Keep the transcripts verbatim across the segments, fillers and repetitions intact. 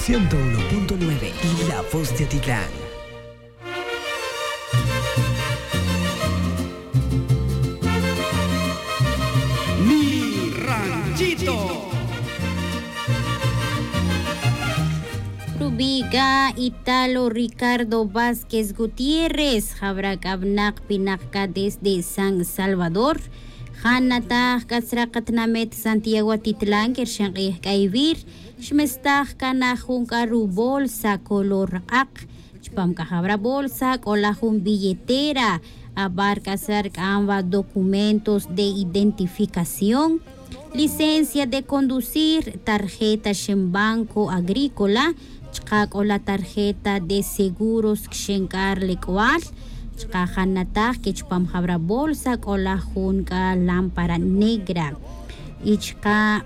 Ciento uno punto nueve, La Voz de Atitlán. Mi ranchito. Rubiga Italo Ricardo Vázquez Gutiérrez, jawra k'a winak pinak c'a desde San Salvador. Janataj c'a tzra katinamet Santiago Atitlán que rxin k'ij k'a ivir, xmestaj c'a na jun c'a rubolsa color k'ak. Chupam c'a jawra bolsa c'ola jun billetera, abar c'a tzra rc'am wa documentos de identificación, licencia de conducir, tarjeta xen banco agrícola, chuka' c'ola tarjeta de seguros xen c'a rlec'ual, chuka' janataj que chupam jawra bolsa c'ola jun c'a lámpara negra. Y chuka'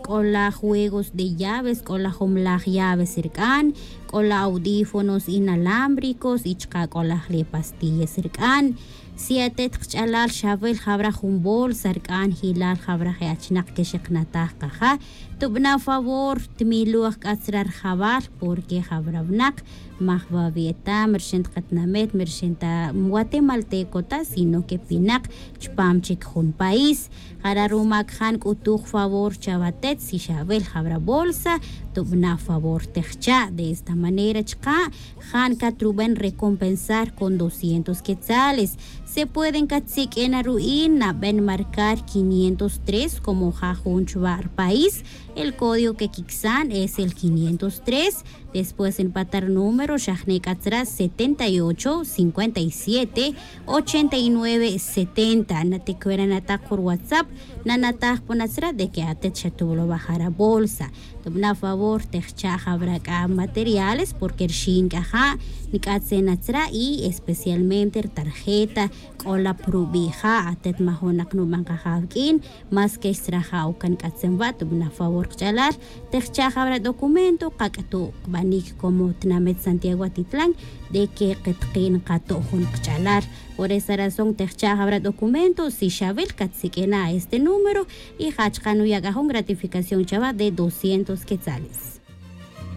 c'ola juegos de llaves, c'ola jumlaj llaves rc'an, c'ola audífonos inalámbricos y chuka' c'ola jle pastillas rc'an. Si atet kach'alal xawil jawra jun bolsa rc'an jilal jawra je' achinak que xiknataj kaja, tubana' favor tmiloj c'a tzra rjawal, porque jawra winak maj wa wi' eta mi rxin ta katinamet, mi rxin ta guatemalteco ta, sino que pinak chupam chic jun país. Jara' ruma c'a ja nc'utuj favor chawa atet, si xawil jawra bolsa, tubana' favor tejcha'. De esta manera chuka' ja ncatruben recompensar con doscientos quetzales. Se pueden catsik'in aru'in, naben marcar quinientos tres, como ja jun chuwa' rpaís, el código que quicsan es el quinientos tres. Después npatar número xa jne' c'a tzra setenta y ocho, cincuenta y siete, ochenta y nueve, setenta. Naticwera natak jun ruwhatsapp, nanataj pon atzra de que atet xa tuwlowa jara bolsa. Tubana' favor tejcha' jawra c'a materiales, porque rxin c'a ja nc'atzen atzra y especialmente rtarjeta c'ola prubi' ja. Atet majonak nuban kaja awq'uin, más que xtzra ja ocan nc'atzen wa', tubana' favor kach'alal tejcha' jawra documento, kac'utu' kbanic como tinamet Santiago Atitlán de que ketkil nkato' jun kach'alal. Por esa razón tejcha' jawra documento, si xawil catsik'ina' este número y ja chuka' nuya' c'a jun gratificación chawa de doscientos quetzales.